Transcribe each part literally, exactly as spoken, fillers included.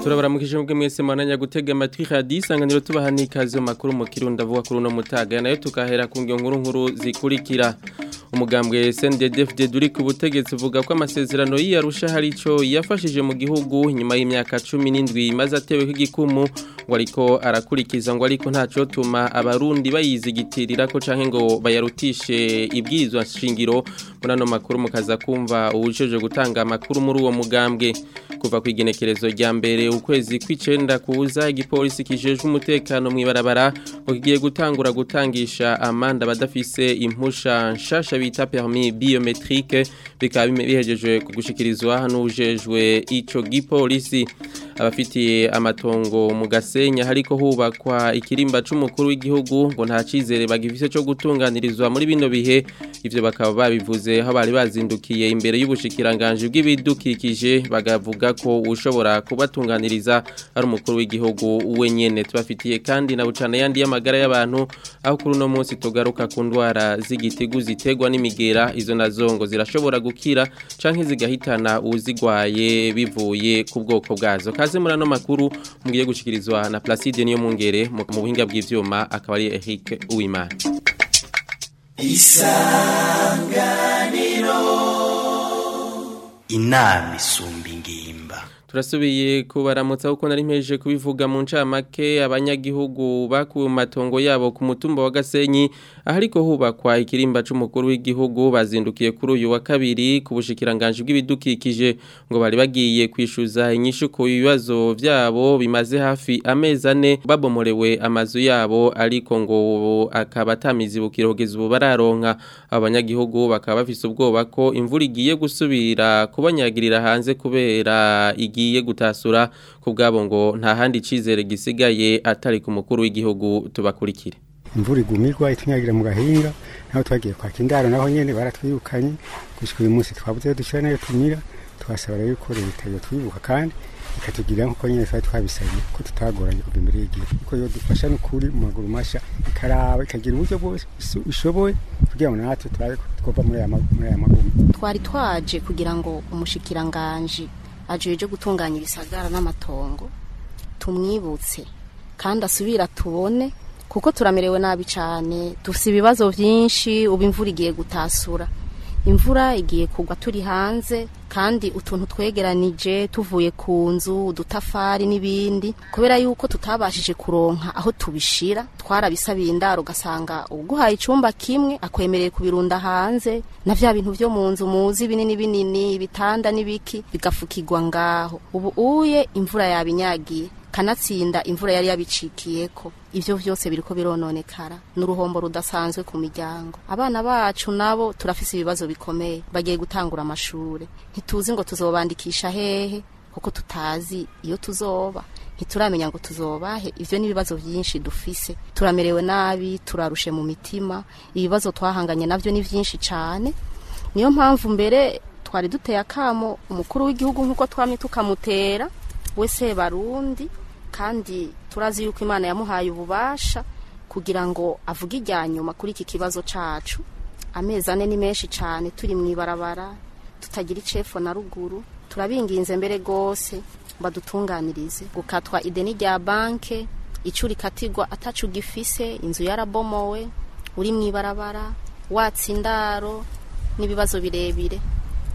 Turabaramukije mubwe mwese mwananya gutega amatwi radio Isanganiro tubaha n'ikaze mu makuru mu Kirundi avuga kuri uno mutaga nayo tukahera ku ngingo nkuru nkuru zikurikira. Umugambwe S N D D F D duri ku butegetsi uvuga ko amasezerano y'Arusha hari ico yafashije mu gihugu nyuma y'imyaka cumi n'indwi maze atewe igikumu ngo ariko arakurikiza ngo ariko ntaco tuma abarundi bayizigitirira ko canke ngo bayarutishe ibwirizwa shingiro. Muri ano makuru mukaza kumva uwujeje gutanga amakuru muri uwo mugambwe. Kuva ku igenekerezo rya mbere ukwezi kw'icenda kuza igipolisi kijejwe umutekano mw'ibarabara ngo kigiye gutangura gutangisha amanda badafise impusha nshasha bita permis biometrique, bikaba bihejeje gushikirizwa n'ujejwe ico gipolisi. Abafitiye amatongo mu Gasenya hariko hubakwa ikirimba c'umukuru w'igihugu ngo nta cizere bagifise co gutunganirizwa muri bino bihe, ivyo bakaba babivuze aho bari bazindukiye imbere y'ubushikiranganje bw'ibidukikije bagavuga ko ushobora kubatunganiriza ari umukuru w'igihugu wenyene. Tubafitiye kandi na bucana yandi y'amagara y'abantu aho kuri uno munsi tugaruka ku ndwara z'igitigu zitegwa n'imigera, izo nazo ngo zirashobora gukira canke zigahitana uwuzigwaye bivuye ku bwoko bwazo. Kaze muri ano makuru mugiye gushikirizwa na Placide niyo mungere mu buhinga bw'ivyuma akaba ari Eric Uwimana. Isanganiro inama isumba ingimba. Turasubiye kubaramutsa uko nari mpejeje kubivuga mu ncamake. Abanyagihugu bakuwe mu matongo yabo ku mutumba wa Gasenyi ahariko hubakwa ikirimba c'umukuru w'igihugu bazindukiye kuri uyu wa kabiri ku bushikiranganje bw'ibidukikije ngo bari bagiye kwishuza inyishu ku bibazo vyabo bimaze hafi amezi ane babomorewe amazu yabo, ariko ngo akaba atamizibukiro kugeza ubu bararonka. Abanyagihugu bakaba bafise ubwoba ko imvura igiye gusubira kubanyagirira hanze kubera igi igiye gutasura kubgabo ngo nta handi cizere gisigaye atari ku mukuru w'igihugu. Tubakurikire. Imvura igumirwa itunyagira mu gahinga naho twagiye kwaka indaro naho nyene baratwirukanye gushika uyu munsi twabuze dushira nayo tumira. Twasaba rero ko leta yotwibuka kandi ikatugira nkuko nyene twari twabisabye ko tutagoranye kuva imbere y'igihe, kuko yodufasha n'ukuri mu maguru masha ikaraba ikagira uburyo bwose ishoboye kugira ngo natwe turabe twova muri aya muri aya magumu. Twari twaje kugira ngo umushikiranganje ajeje gutunganya ibisagara n'amatongo tumwibutse kandi asubira tubone, kuko turamerewe nabi cyane, dufite ibibazo byinshi. Ubu imvura igiye gutasura, imvura igiye kugwa turi hanze kandi utuntu twegeranije tuvuye ku nzu udutafari n'ibindi, kubera yuko tutabashije kuronka aho tubishira twarabisabiye indaro, ugasanga uguhaye icumba kimwe akwemereye kubirunda hanze na vya bintu vyo mu nzu muzi binini binini ibitanda n'ibiki bigafukirwa ngaho. Ubu uye imvura yabinyagiye kanatsinda imvura yari yabicikiyeko, ivyo vyose biriko birononekara n'uruhombo rudasanzwe ku miryango. Abana bacu nabo turafise ibibazo bikomeye, bagiye gutangura amashure ntituzi ngo tuzobandikisha hehe kuko tutazi iyo tuzoba, ntituramenya ngo tuzobahe. Ivyo ni ibibazo byinshi dufise, turamerewe nabi, turarushe mu mitima, ibibazo twahanganye navyo ni vyinshi cane. Niyo mpamvu mbere twari duteye akamo umukuru w'igihugu nkuko twamye tukamutera wese barundi, kandi turazi yuko Imana yamuhaye ububasha kugira ngo avuge ijya nyuma kuri iki kibazo cacu. Amezi ane ni menshi cane turi mwibarabara tutagira icefo na ruguru. Turabinginze mbere gose badutunganirize gukatwa ideni rya banke icuri katigwa atacu gifise, inzu yarabomowe, uri mwibarabara watsindaro n'ibibazo birebire.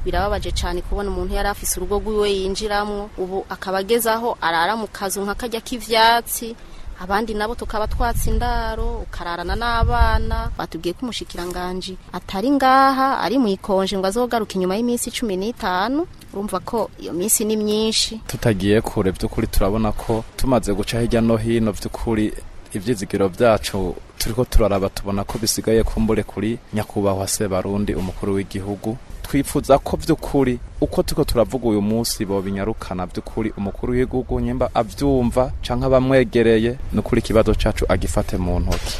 Birababaje cyane kubona umuntu yari afise urugo rwiwe yinjiramwo ubu akabagezaho arara mu kazu nka kajya k'ivyatsi, abandi nabo tukaba twatsi indaro ukararana n'abana. Batubwiye ko umushikiranganje atari ngaha ari mu ikonje ngo azogaruka inyuma y'iminsi cumi n'itanu. Urumva ko iyo minsi ni myinshi. Tutagiye kure by'ukuri turabona ko tumaze guca hirya no hino by'ukuri ivyizigiro byacu turiko turaraba tubona ko bisigaye kumbure kuri nyakubahwa se Barundi umukuru w'igihugu. Twifuza ko vy'ukuri uko tuko turavuga uyu munsi bo binyarukana vy'ukuri umukuru w'igihugu nyimba avyumva canke abamwegereye n'ukuri kibazo cacu agifate mu ntoki.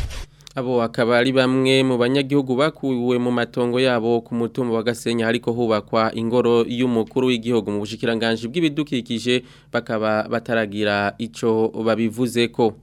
Abo akaba ari bamwe mu banyagihugu bakuwe mu matongo yabo ku mutumba wa Gasenya hariko hubakwa ingoro y'umukuru w'igihugu mu bushikiranganje bw'ibidukikije bakaba bataragira ico babivuzeko.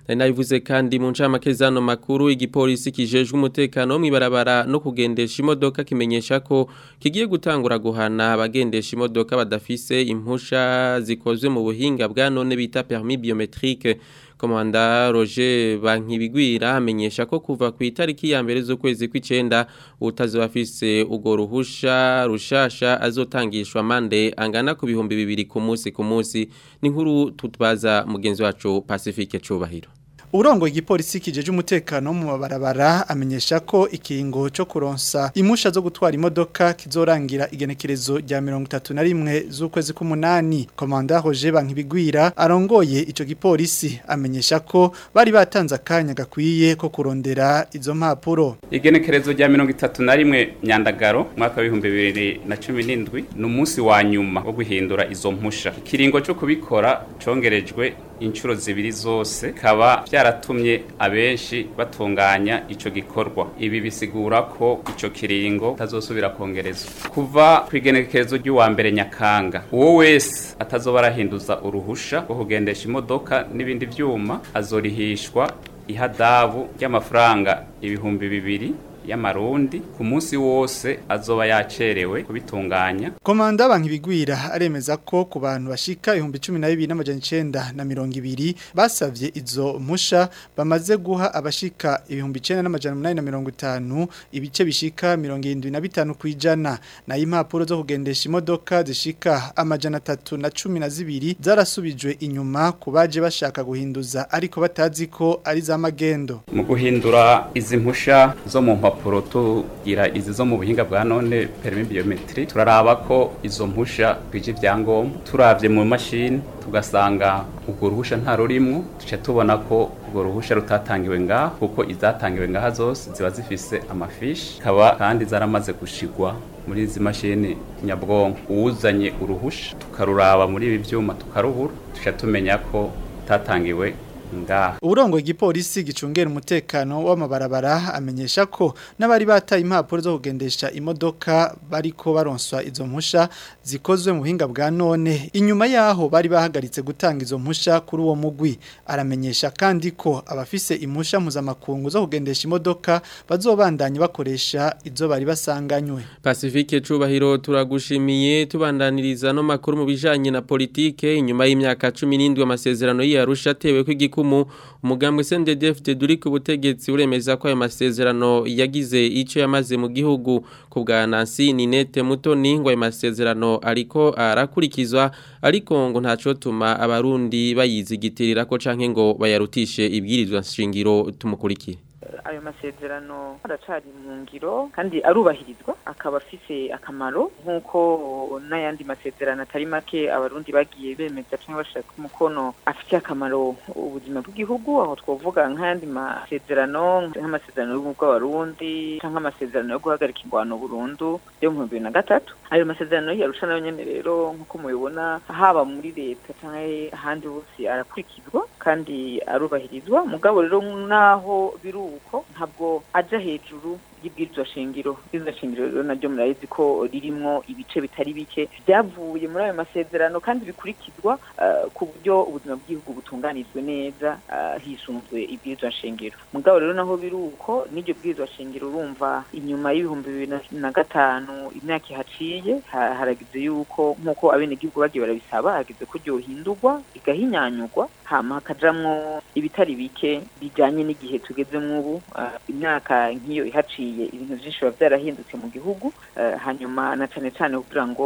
Nari nabivuze kandi mu ncamake zano makuru, igipolisi kijejwe umutekano mw'ibarabara no kugendesha imodoka kimenyesha ko kigiye gutangura guhana abagendesha imodoka badafise impusha zikozwe mu buhinga bwa none bita permis biometrique. Komanda Roger Bankibigwira amenyesha ko kuva ku itariki ya mbere z'ukwezi kw'icenda utazobafise ugo ruhusha rushasha azotangishwa amande angana ku bihumbi bibiri ku munsi ku munsi. Ni nkuru tutbaza mugenzi wacu Pacifique Cubahiro. Urongo igipolisi kijeje umutekano mu mabarabara amenyesha ko ikiringo cyo kuronsa impusha zo gutwara imodoka kizorangira igenekerezo rya mirongo itatu na rimwe z'ukwezi k'umunani. Komanda Roger Bankibigwira arongoye ico gipolisi amenyesha ko bari batanze akanya gakwiye ko kurondera izo mpapuro. Igenekerezo rya mirongo itatu na rimwe Nyandagaro mwaka w'ibihumbi bibiri na cumi n'indwi ni umunsi wa nyuma wo guhindura izo mpusha. Ikiringo cyo kubikora congerejwe inshuro zibiri zose, kaba byaratumye abenshi batunganya ico gikorwa. Ibi bisigura ko ico kiringo tazosubira kongerezwa kuva kwigenekerezo ry'uwa mbere Nyakanga. Uwo wese atazoba arahinduza uruhusha rwo kugendesha imodoka n'ibindi vyuma azorihishwa ihadabu ry'amafaranga ibihumbi bibiri y'amarundi ku munsi wose azoba yacerewe kubitunganya. Komanda Bankibigwira aremeza ko ku bantu bashika ibihumbi cumi na bibiri n'amajana icenda na mirongo ibiri basavye izo mpusha bamaze guha abashika ibihumbi icenda n'amajana umunani na mirongo itanu ibice bishika mirongo irindwi na bitanu kwijana. Na impapuro zo kugendesha imodoka zishika amajana atatu na cumi na zibiri zarasubijwe inyuma ku baje bashaka guhinduza ariko batazi ko ari za magendo. Mu guhindura izi mpusha zo mu mpapuro tugira izi zo mu buhinga bwa none permis biometrique, turaraba ko izo mpusha kwije ibyangombwa. Turavye mu mashini tugasanga ubwo ruhusha nta rurimwo, tuce tubona ko ubwo ruhusha rutatangiwe ngaha, kuko izatangiwe ngaha zose ziba zifise amafishi kaba kandi zaramaze gushigwa muri izi mashini nyabwonko. Uwuzanye uruhusha tukaruraba muri ibi vyuma tukaruhura, tuce tumenya ko tatangiwe ngaha. Urongo igipolisi gicungera umutekano w'amabarabara amenyesha ko n'abari bataye impapuro zo kugendesha imodoka bariko baronswa izo mpusha zikozwe mu buhinga bwa none inyuma yaho bari bahagaritse gutanga izo mpusha kuri uwo mugwi. Aramenyesha kandi ko abafise impusha mpuzamakungu zo kugendesha imodoka bazobandanya bakoresha izo bari basanganywe. Pacifique Cubahiro turagushimiye. Tubandaniriza no makuru mu bijanye na politike. Inyuma y'imyaka cumi n'indwi amasezerano y'Arusha atewe ko umugambwe C N D D F D duri ku butegetsi uremeza ko ayo masezerano yagize ico yamaze mu gihugu. Ku bwa Nancy Ninette Mutoni ngo ayo masezerano ariko arakurikizwa, ariko ngo ntaco tuma abarundi bayizigitirira ko canke ngo bayarutishe ibwirizwa nshingiro. Tumukurikire. Ayo masezerano aracari mu ngiro kandi arubahirizwa, akaba afise akamaro nk'uko n'ayandi masezerano atari make abarundi bagiye bemeza canke bashaka umukono afite akamaro ubuzima bw'igihugu. Aho twovuga nk'ayandi masezerano nk'amasezerano y'ubumwe bw'abarundi canke amasezerano yo guhagarika ingwano burundu yo mu bihumbi bibiri na gatatu. Ayo masezerano y'Arusha nayo nyene rero nk'uko mubibona haba muri leta canke ahandi hose arakurikizwa kandi arubahirizwa. Mugabo rero naho biruko ntabwo aja hejuru y'ibwirizwa shingiro. Ibwirizwa shingiro rero naryo murabizi ko ririmwo ibice bitari bike byavuye muri ayo masezerano kandi bikurikizwa uh, ku buryo ubuzima bw'igihugu butunganijwe neza uh, hisunzwe ibwirizwa shingiro. Mugabo rero naho biruko n'iryo bwirizwa shingiro urumva inyuma y'ibihumbi bibiri na gatanu imyaka ihaciye haragize yuko nkuko abenegihugu bagiye barabisaba hageze ko ryohindurwa igahinyanyurwa hama hakajamwo ibitari bike bijanye n'igihe tugezemwo ubu. Uh, imyaka nk'iyo ihaciye ibintu byinshi biba byarahindutse mu gihugu, uh, hanyuma na cane cane kugira ngo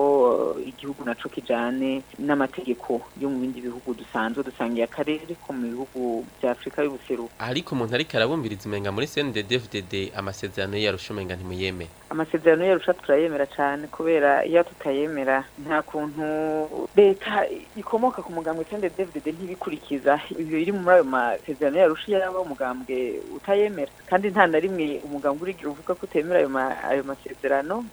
uh, igihugu naco kijane n'amategeko yo mu bindi bihugu dusanzwe dusangiye akarere ko mu bihugu bya Afrika y'ubuseruko. Ariko umuntu ariko arabumbiriza umenga muri C N D D F D D amasezerano y'Arusha umenga ntimuyemera. Amasezerano y'Arusha turayemera cane, kubera iyo tutayemera nta kuntu leta ikomoka ku mugambwe C N D D F D D ntibikurikiza ibyo biri muri ayo masezerano y'Arusha yaba umugambwe utayemera, kandi nta na rimwe umugambwe urigira uvuga ko utemera ayo ayo masezerano.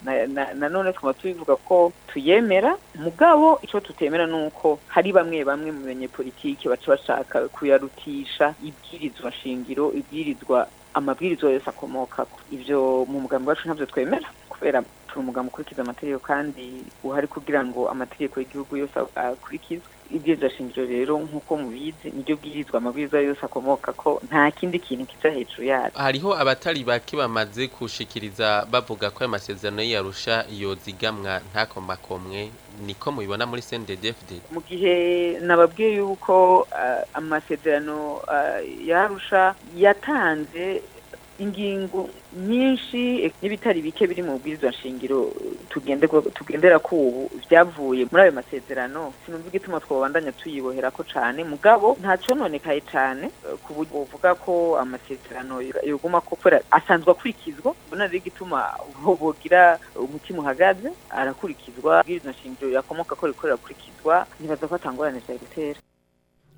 Na none twama tubivuga ko tuyemera, mugabo ico tutemera nuko hari bamwe bamwe mu banyepolitike baca bashaka kuyarutisha ibwirizwa shingiro, ibwirizwa amabwirizwa yose akomokako. Ivyo mu mugambi wacu ntavyo twemera, kubera Turi umugambi ukurikiza amategeko kandi uhari kugira ngo amategeko y'igihugu yose akurikizwe. Ibwirizwa shingiro rero nk'uko mubizi niryo bwirizwa amabwiriza yose akomoka ko nta kindi kintu kiza hejuru yaryo. Hariho abatari bake bamaze kushikiriza bavuga ko amasezerano y'Arusha yozigamwa ntakomakomwe, niko mubibona muri C N D D F D D? Mu gihe nababwiye yuko uh, amasezerano uh, y'Arusha yatanze ingingo nyinshi n'ibitari bike biri mu bwirizwa nshingiro tugende tugendera ko ubu byavuye muri ayo masezerano, sinumva igituma twobandanya tuyibohera ko cane, mugabo nta cononekaye cane ku buryo uvuga ko amasezerano yoguma ko kubera asanzwe akurikizwa. Mbona rero igituma bogira umutima uhagaze, arakurikizwa, bwirizwa nshingiro yakomoka ko rikorera akurikizwa, ntibaza ko atangorane vyari gutera.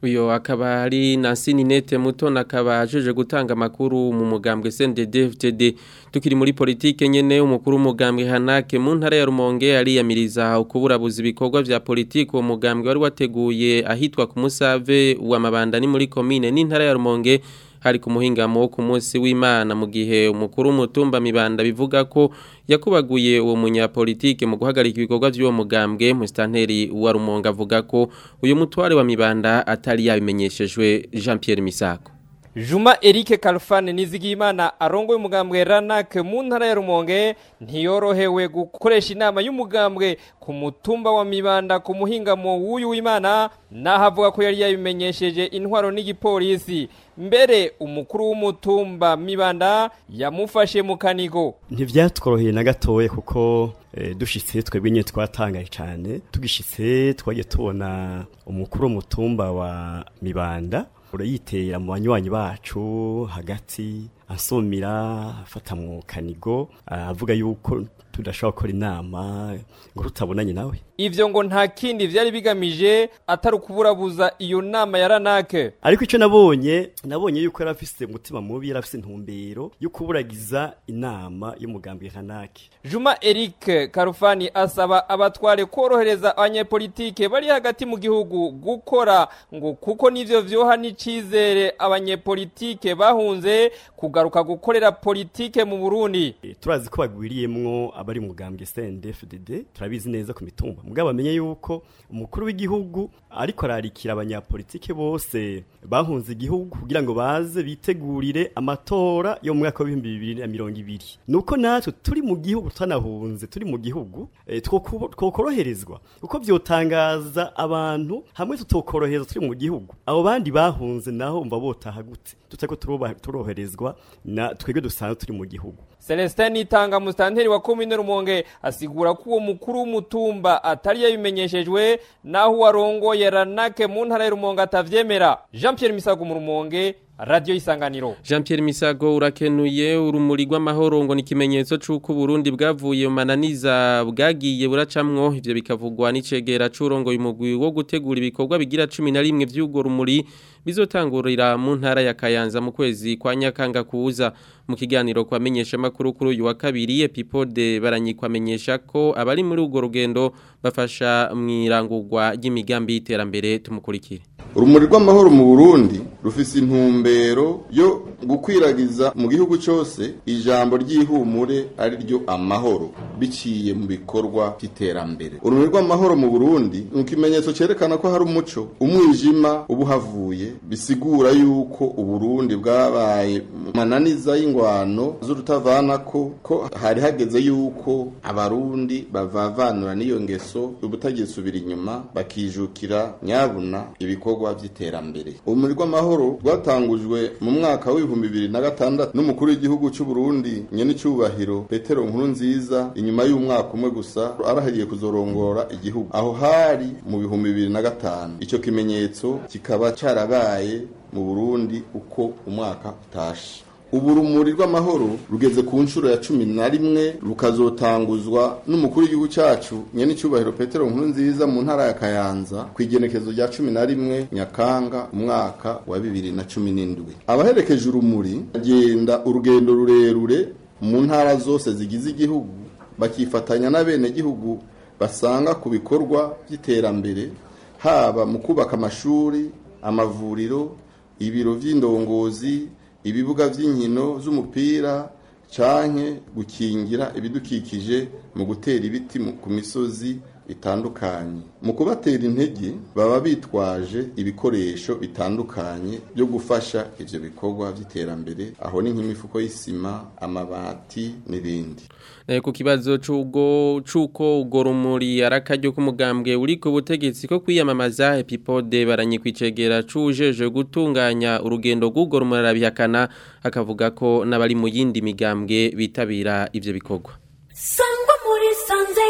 Uyo akaba ari Nancy Ninete Mutoni akaba ajeje gutanga amakuru mu mugambwe C N D D F D D. Tukiri muri politike nyene, umukuru w'umugambwe Hanake mu ntara ya Rumonge ariyamiriza ukuburabuza ibikorwa vya politike uwo mugambwe wari wateguye ahitwa ku Musave wa Mabanda ni muri commune n'intara ya Rumonge hari ku muhingamo wo ku munsi w'Imana, mu gihe umukuru w'umutumba Mibanda bivuga ko yakubaguye uwo munyapolitike mu guhagarika ibikorwa by'uwo mugambwe. Mustanteri wa Rumonge avuga ko uyu mutware wa Mibanda atari yabimenyeshejwe. Jean Pierre Misako. Juma Eric Kalfane Nizigimana arongoye umugambwe Ranak mu ntara ya Rumonge ntiyorohewe gukoresha inama y'umugambwe ku mutumba wa Mibanda ku muhingamo w'uyu w'Imana, naho avuga ko yari yabimenyesheje intwaro n'igipolisi. Mbere umukuru w'umutumba Mibanda yamufashe mu kanigo. Ntivyatworoheye na gatoye kuko e, dushitse twebwe nyine twatangaye cyane. Tugishitse twagiye tubona umukuru w'umutumba wa Mibanda urayitera mu banywanyi bacu hagati, asomira afata mu kanigo avuga yuko tudashobora gukora inama ngo tutabonanye nawe. Ivyo ngo nta kindi vyari bigamije atari ukuburabuza iyo nama ya Ranake. Ariko ico nabonye nabonye yuko yari afise umutima mubi, yari afise intumbero yo kuburagiza inama y'umugambi Ranake. Juma Eric Karufani asaba abatware korohereza abanyepolitike bari hagati mu gihugu gukora, ngo kuko nivyo vyoha n'icizere abanyepolitike bahunze kugaruka gukorera politike mu Burundi. E, turazi ko bagwiriyemwo abari mu mugambwe C N D F D D, turabizi neza ku mitumba. Mugabo bamenye yuko umukuru w'igihugu ariko ararikira abanyapolitike bose bahunze igihugu kugira ngo baze bitegurire amatora yo mu mwaka wa ibihumbi bibiri na mirongo ibiri. Nuko natwe turi mu gihugu tutanahunze, turi mu gihugu e, twokoroherezwa uko byotangaza abantu hamwe tutokorohereza turi mu gihugu. Abo bandi bahunze naho umva botaha gute tutako turoherezwa na twebwe dusanzwe turi mu gihugu. Celestin Nitanga mustanteri wa komine Rumonge asigura ko uwo mukuru w'umutumba atari yabimenyeshejwe, naho warongoye Ranake mu ntara ya Rumonge atavyemera. Jean Pierre Misago mu Rumonge, Radio Isanganiro. Jean Pierre Misago urakenuye. Urumuri rw'amahoro ngo ni kimenyetso c'uko Burundi bwavuye mananiza bwagiye buracamwo, ivyo bikavugwa n'icegera c'urongoye umugwi wo gutegura ibikorwa bigira cumi na rimwe vy'ugo rumuri bizotangurira mu ntara ya Kayanza mu kwezi kwa Nyakanga kuza. Mu kiganiro kwamenyesha makuru kuri uyu wa kabiri, Epipode baranyikwamenyesha ko abari muri ugo rugendo bafasha mwirangurwa ry'imigambi y'iterambere. Tumukurikire. Urumuri rw'amahoro mu Burundi rufise intumbero yo gukwiragiza mu gihugu cyose ijambo ry'ihumure ari ryo amahoro biciye mu bikorwa by'iterambere. Urumuri rw'amahoro mu Burundi ni ikimenyetso cyerekana ko hari umuco, umwijima ubuhavuye, bisigura yuko Uburundi bwabaye mananiza y'ingwano z'urutavanako, ko hari hageze yuko abarundi bavavanura n'iyo ngeso ubutagisubira inyuma bakijukira nyabuna ibikorwa by'iterambere. Urumuri rw'amahoro rwatangujwe mu mwaka w'ibihumbi bibiri na gatandatu n'umukuru w'igihugu cy'u Burundi nyenicubahiro Petero Nkurunziza, inyuma y'umwaka umwe gusa arahiriye kuzorongora igihugu. Aho hari mu bihumbi bibiri na gatanu. Ico kimenyetso kikaba carabaye mu Burundi uko umwaka utashe. Ubu rumuri rw'amahoro rugeze ku nshuro ya cumi na rimwe, rukazotanguzwa n'umukuru w'igihugu cyacu nyenicubahiro Petero Nkurunziza mu ntara ya Kayanza ku igenekezo rya cumi na rimwe Nyakanga umwaka wa bibiri na cumi n'indwi. Abaherekeje urumuri bagenda urugendo rurerure mu ntara zose zigize igihugu, bakifatanya n'abenegihugu basanga ku bikorwa by'iterambere, haba mu kubaka amashuri, amavuriro, ibiro vy'indongozi, ibibuga vy'inkino z'umupira canke gukingira ibidukikije mu gutera ibiti ku misozi itandukanye. Mu kubatera intege baba bitwaje ibikoresho bitandukanye byo gufasha ivyo bikorwa vy'iterambere, aho ni nk'imifuko y'isima, amabati n'ibindi. Nayo ku kibazo c'ugo c'uko ugo rumuri arakaryo k'umugambwe uri ku butegetsi ko kwiyamamaza, Epipode baranyikwicegera cujeje gutunganya urugendo rw'ugo rumuri arabihakana, akavuga ko n'abari mu yindi migambwe bitabira ivyo bikorwa. Sangwa muri sanze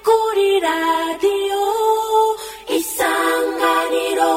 kuri radio Isanganiro.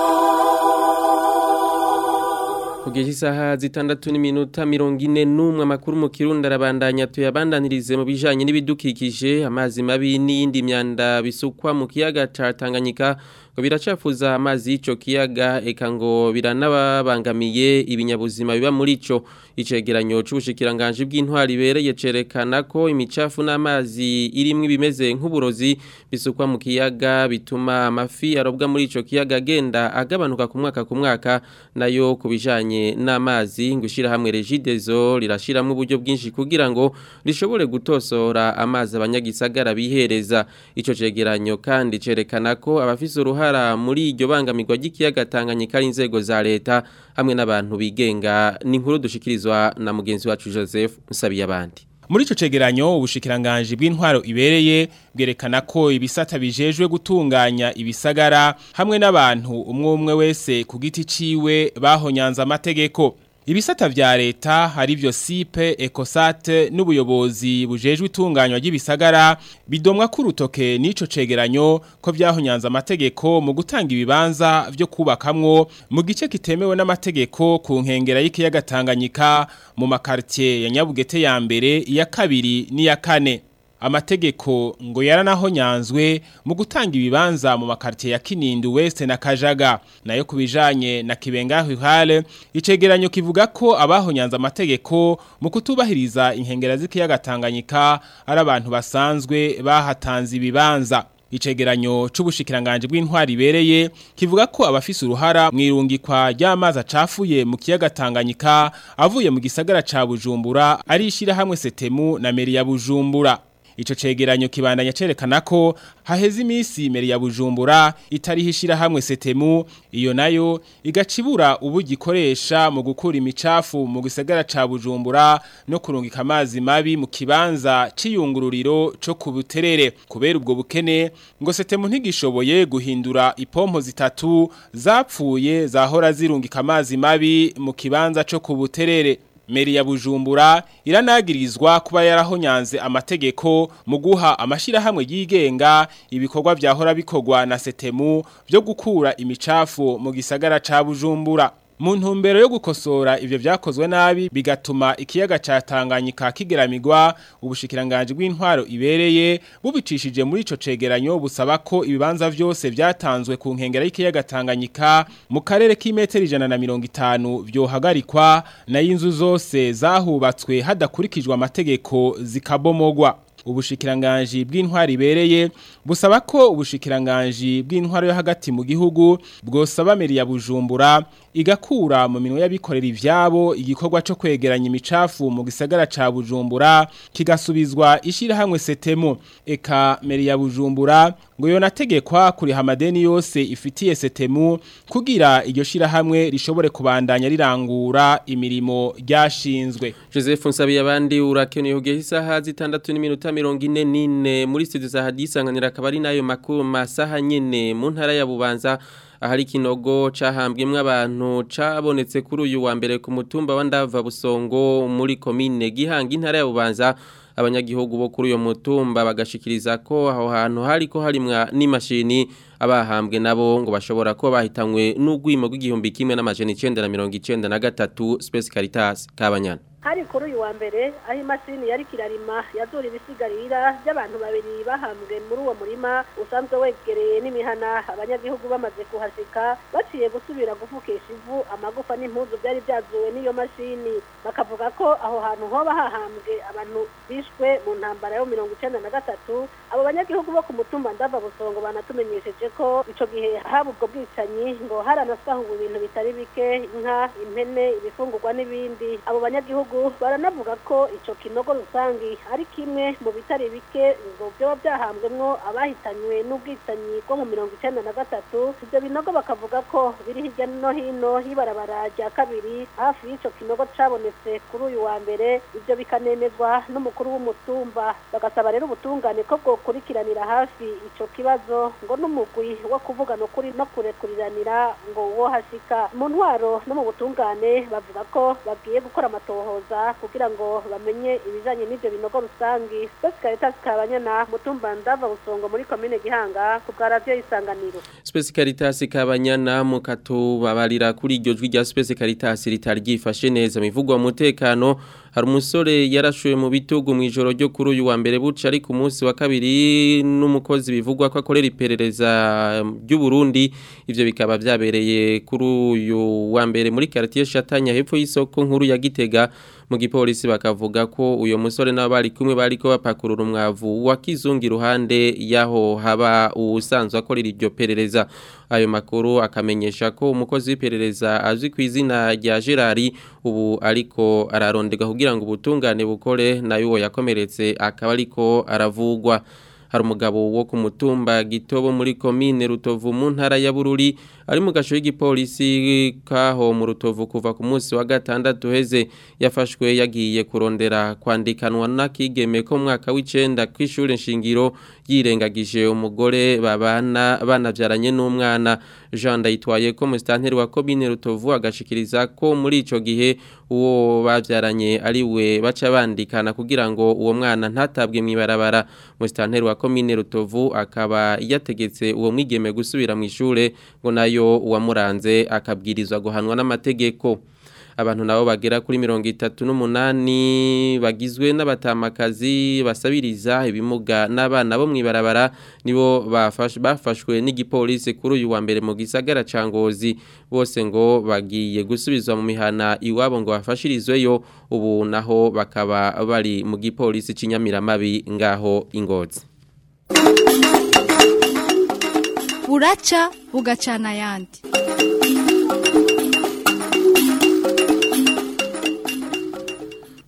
Kugeza isaha zitandatu n'iminota mirongo ine n'umwe, amakuru mu Kirundi arabandanya. Tuyabandanirize mu bijanye n'ibidukikije. Amazi mabi n'iyindi myanda bisukwa mu kiyaga ca Tanganyika ngo biracafuza amazi y'ico kiyaga, eka ngo biranababangamiye ibinyabuzima biba muri ico. Icegeranyo c'ubushikiranganje bw'intwari ibereye cerekana ko imicafu n'amazi irimwo ibimeze nk'uburozi bisukwa mu kiyaga bituma amafi arobwa muri ico kiyaga agenda agabanuka ku mwaka ku mwaka. Nayo ku bijanye n'amazi ngo ishirahamwe Regideso rirashiramwo uburyo bwinshi kugira ngo rishobore gutosora amazi abanyagisagara bihereza. Ico cegeranyo kandi cerekana ko abafise uruhara muri iryo bangamirwa ry'ikiyaga Tanganyika ari inzego za leta hamwe n'abantu bigenga. Ni inkuru dushikirizwa na mugenzi wacu Joseph Nsabiyabandi. Muri ico cegeranyo ubushikiranganje bw'intwaro ibereye bwerekana ko ibisata bijejwe gutunganya ibisagara hamwe n'abantu umwe umwe wese ku giti ciwe bahonyanza amategeko. Ibisata vya leta hari vyo Sipe, Ecosat n'ubuyobozi bujejwe itunganywa ry'ibisagara bidomwa ku rutoke n'ico cegeranyo ko vyahonyanza amategeko mu gutanga ibibanza vyo kubakamwo mu gice kitemewe n'amategeko ku nkengera y'ikiyaga Tanganyika mu makartier ya Nyabugete ya mbere, iya kabiri n'iya kane. Amategeko ngo yaranahonyanzwe mu gutanga ibibanza mu makartier ya Kinindu West na Kajaga. Nayo kubijanye na Kibenga Ruhale, icegeranyo kivuga ko abahonyanza amategeko mu kutubahiriza inkengera z'ikiyaga Tanganyika ari abantu basanzwe bahatanze ibibanza. Icegeranyo c'ubushikiranganje bw'intwari ibereye kivuga ko abafise uruhara mwirungikwa ry'amazi acafuye mu kiyaga Tanganyika avuye mu gisagara ca Bujumbura ari ishirahamwe Setemu na meri ya Bujumbura. Ico cegeranyo kibandanya cerekana ko haheze imisi meri ya Bujumbura itarihishira hamwe Setemu, iyo nayo igacibura ubugikoresha mu gukura imicafu mu gisagara ca Bujumbura no kurungika amazi mabi mu kibanza c'iyungururiro co ku Buterere. Kubera ubwo bukene ngo Setemu ntigishoboye guhindura ipompo zitatu zapfuye zahora zirungika amazi mabi mu kibanza co ku Buterere. Meri ya Bujumbura iranagirizwa kuba yarahonyanze amategeko mu guha amashirahamwe yigenga ibikorwa vyahora bikorwa na Setemu byo gukura imicafu mu gisagara ca Bujumbura. Mu ntumbero yo gukosora ivyo vyakozwe nabi bigatuma ikiyaga ca Tanganyika kigeramigwa, ubushikiranganje bw'intwaro ibereye bubicishije muri ico cegeranyo busaba ko ibibanza vyose vyatanzwe ku nkengera y'ikiyaga Tanganyika mu karere k'imetero ijana na mirongo itanu vyohagarikwa, na inzu zose zahubatswe hadakurikijwe amategeko zikabomogwa. Ubushikiranganji bw'intwari ibereye busaba ko ubushikiranganji bw'intwaro yo hagati mu gihugu bwosaba meri ya Bujumbura igakura mu minwe y'abikorera ivyabo igikorwa co kwegeranya imicafu mu gisagara ca Bujumbura kigasubizwa ishirahamwe Setemu. Eka meri ya Bujumbura ngo yonategekwa kuriha amadeni yose ifitiye Setemu kugira iryo shirahamwe rishobore kubandanya rirangura imirimo ryashinzwe. Joseph Nsabiyabandi urakeneye kugeza isaha zitandatu n'iminota mirongo ine n'ine muri studio za Hadisanganira, akaba ari nayo makuru masaha nyene mu ntara ya Bubanza ahari kinogo cahambwemwe abantu cabonetse kuri uyu wa mbere ku mutumba wa Ndava Busongo muri commune Gihanga intara ya Bubanza. Abanyagihugu bo kuri uyo mutumba bagashikiriza ko aho hantu hariko harimwa n'imashini, abahambwe nabo ngo bashobora ko bahitanywe n'ugwimo rw'igihumbi kimwe n'amajana icenda na mirongo icenda na gatatu. Space Caritas Kabanyana. Hari kuri uyu wa mbere aho imashini yari kirarima yazura ibisigarira by'abantu babiri bahambwe muri uwo murima usanzwe wegereye n'imihana. Abanyagihugu bamaze kuhashika baciye gusubira gufukisha ivu amagufa n'impuzu byari byazuwe n'iyo mashini, bakavuga ko aho hantu hoba hahambwe abantu bishwe mu ntambara yo mirongo icenda na gatatu. Abo banyagihugu bo ku mutumba Ndava Busongo banatumenyesheje Twibutse ko ico gihe haba ubwo bwicanyi ngo haranasahuwe ibintu bitari bike, inka, impene, ibifungurwa n'ibindi. Abo banyagihugu baranavuga ko ico kinogo rusangi ari kimwe mu bitari bike ngo byoba byahambwemwo abahitanywe n'ubwicanyi bwo mu mirongo icenda na gatatu. Ivyo binogo bakavuga ko biri hirya no hino y'ibarabara rya kabiri hafi y'ico kinogo cabonetse kuri uyu wa mbere. Ivyo bikanemezwa n'umukuru w'umutumba. Bagasaba rero ubutungane ko bwokurikiranira hafi ico kibazo ngo n'umugwi wo kuvugana ukuri no kurekuriranira ngo uwo hashika. Mu ntwaro no mu butungane bavuga ko bagiye gukora amatohoza kugira ngo bamenye ibijanye n'ivyo binogo rusangi. Space Caritas Kabanyana, mutumba Ndava Busongo muri komine Gihanga, ku bwa radio Isanganiro. Space Caritas Kabanyana mukatubabarira kuri iryo jwi rya Space Caritas ritari ryifashe neza mivugwa mu mutekano. Hari umusore yarashuye mu bitugu mu ijoro ryo kuri uyu wa mbere buca ari ku munsi wa kabiri n'umukozi bivugwa ko akorera iperereza ry'u Burundi. Ivyo bikaba byabereye kuri uyu wa mbere muri quartier Shatanya hepfo y'isoko nkuru ya Gitega. Mu gipolisi bakavuga ko uyo musore nabo bari kumwe bariko bapakurura umwavu wa kizungu iruhande yaho haba usanzwe akorera iryo perereza. Ayo makuru akamenyesha ko umukozi w'iperereza azwi ku izina rya Gerard ubu ariko ararondega kugira ngo ubutungane bukore, nayo uwo yakomeretse akaba ariko aravugwa. Hari umugabo wo ku mutumba Gitobo muri komine Rutovu mu ntara ya Bururi ari mu gasho y'igipolisi kaho mu Rutovu kuva ku munsi wa gatandatu heze. Yafashwe yagiye kurondera kwandikanwa n'akigeme ko mwaka w'icenda kw'ishure nshingiro, yirengagije umugore babana banavyaranye n'umwana. Jean Ndayitwaye ko musitanteri wa komine Rutovu agashikiriza ko muri ico gihe uwo bavyaranye ari we baca bandikana kugira ngo uwo mwana ntatabwe mw'ibarabara. Musitanteri wa komine Rutovu akaba yategetse uwo mwigeme gusubira mu ishure ngo nayo uwamuranze akabwirizwa guhanwa n'amategeko. Abantu nabo bagera kuri mirongo itatu n'umunani bagizwe n'abatamakazi basabiriza ibimuga n'abana bo mwibarabara nibo bafashwe n'igipolisi kuri uyu wa mbere mu gisagara ca Ngozi. Bose ngo bagiye gusubizwa mu mihana iwabo ngo bafashirizweyo, ubu naho bakaba bari mu gipolisi c'inyamiramabi ngaho Ingozi. Buraca bugacana yandi.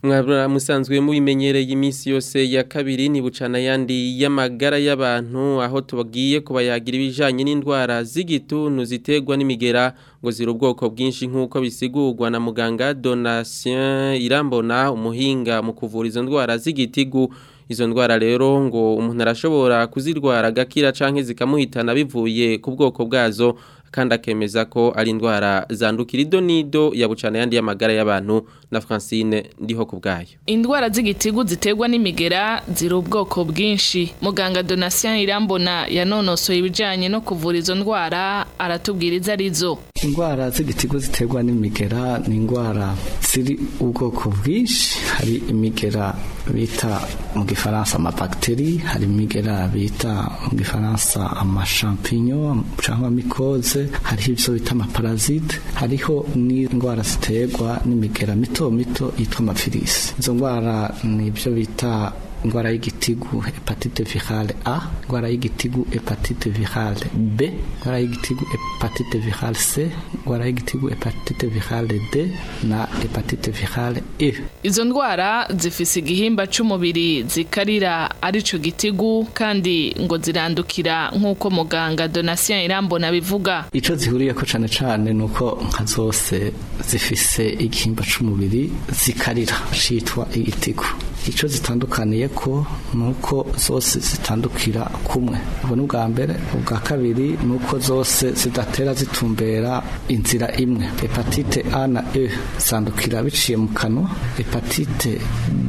Mwabura musanzwe mubimenyereye iminsi yose ya kabiri ni bucana yandi y'amagara y'abantu, aho tubagiye kubayagira ibijanye n'indwara z'igituntu ziterwa n'imigera ngo ziri ubwoko bwinshi nk'uko bisigurwa na muganga Donatien Irambona, umuhinga mu kuvura izo ndwara z'igitigu. Izo ndwara rero ngo umuntu arashobora kuzirwara agakira canke zikamuhitana bivuye ku bwoko bwazo, kandi akemeza ko ari indwara zandukira. Idonido ya bucana yandi y'amagara y'abantu na Francine ndiho kubgayo. Indwara z'igitigu ziterwa n'imigera ziri ubwoko bwinshi. Muganga Donatien Irambona yanonosoye ibijanye no kuvura izo ndwara, aratubwiriza arizo. Indwara z'igitigu ziterwa n'imigera ni indwara ziri ubwoko bwinshi. Hari imigera bita mu gifaransa amabakteri, hari imigera bita mu gifaransa amashampinyo cyangwa mikoze, hariho ivyo bita amaparasite, hariho n'indwara ziterwa n'imigera mito mito yitwa amafirisi. Izo ndwara ni ibyo bita ingwara y'igitigu hepatite virale A, ingwara y'igitigu hepatite virale B, ingwara y'igitigu hepatite virale C, ingwara y'igitigu hepatite virale D na hepatite virale E. Izo ndwara zifise igihimba c'umubiri zikarira arico gitigu, kandi ngo zirandukira nk'uko muganga Donatien Irambona bivuga. Ico zihuriyeko cane cane nuko nka zose zifise igihimba c'umubiri zikarira citwa igitigu. Ico zitandukaniye ko nuko zose zitandukira kumwe. Ubwo n'ubwa mbere. Ubwa kabiri nuko zose zidatera zitumbera inzira imwe. Hepatite A na E zandukira biciye mu kanwa, hepatite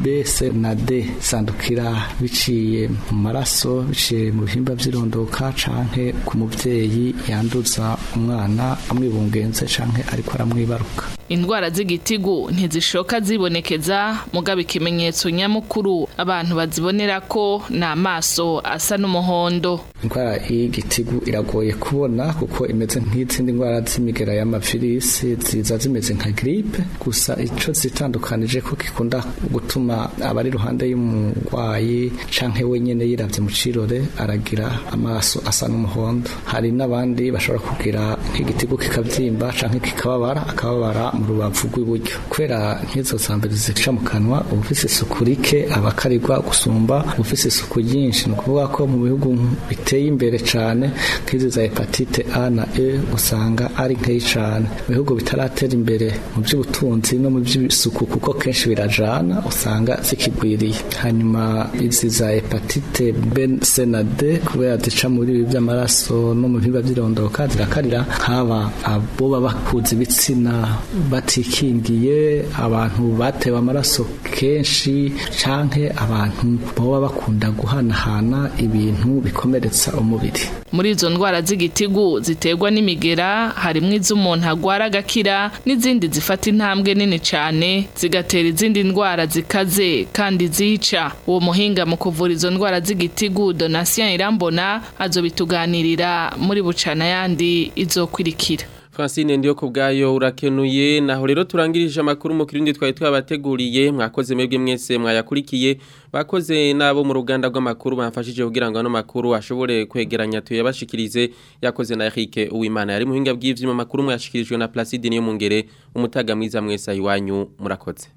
B, C na D zandukira biciye mu maraso, biciye mu bihimba vy'irondoka canke ku muvyeyi yanduza umwana amwibungenze canke ariko aramwibaruka. Indwara z'igitigu ntizishoka zibonekeza, mugabo ikimenyetso nyamukuru abantu bazibonera ko ni amaso asa n'umuhondo. Indwara y'igitigu iragoye kubona kuko imeze nk'izindi ndwara z'imigera y'amavirisi, ziza zimeze nka gripe, gusa ico zitandukanije ko gikunda gutuma abari iruhande y'umurwayi canke wenyene yiravye mu cirore aragira amaso asa n'umuhondo. Hari n'abandi bashobora kugira nk'igitigu kikavyimba canke kikababara, akababara mu rubavu rw'iburyo. Kubera nk'izo zambere zica mu kanwa, ubufise isuku rike abakarirwa gusumba ubufise isuku ryinshi. Ni ukuvuga ko mu bihugu biteye imbere cane nk'izi za hepatite A na E usanga ari nkeyi cane. Mu bihugu bitaratera imbere mu by'ubutunzi no mu by'isuku, kuko kenshi birajana, usanga zikigwiriye. Hanyuma izi za hepatite B, C na D kubera zica muri ibi by'amaraso no mu bihimba by'irondoka zirakarira nk'aba abo baba bakuze ibitsina batikingiye, abantu batewe amaraso kenshi, canke abantu boba bakunda guhanahana ibintu bikomeretsa umubiri. Muri izo ndwara z'igitigu ziterwa n'imigera harimwo iz'umuntu agwara agakira n'izindi zifata intambwe nini cane zigatera izindi ndwara zikaze kandi zica. Uwo muhinga mu kuvura izo ndwara z'igitigu Donatien Irambona azobituganirira muri bucana yandi izokwirikira. Francine ndiyo kubgayo urakenuye. Naho rero turangirije amakuru mu kirundi twari twabateguriye. Mwakoze mwebwe mwese mwayakurikiye, bakoze nabo mu ruganda rw'amakuru bamfashije kugira ngo ano makuru ashobore kwegeranya tuyabashikirize. Yakoze na Eric Uwimana yari muhinga bw'ivyuma. Makuru mwashikirijwe na Placide niyo mungere. Umutaga mwiza mwese ayiwanyu, murakoze.